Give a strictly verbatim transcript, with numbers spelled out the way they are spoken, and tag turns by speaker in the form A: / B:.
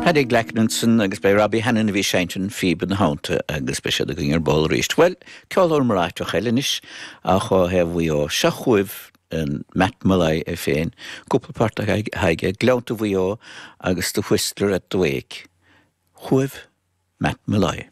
A: Paddy Glackin ansin agus b'é Robbie Hannan a bhí ag seinnt an phíb ina theannta agus beidh siad againn ar ball arís. Well, ceoltóir iomráiteach eile anois ach ó thaobh Mhaigh Eo seo chugaibh Matt Molloy é féin, cúpla port aige Gleannta Mhaigh Eo agus The Whistler at the Wake. Chugaibh Matt Molloy.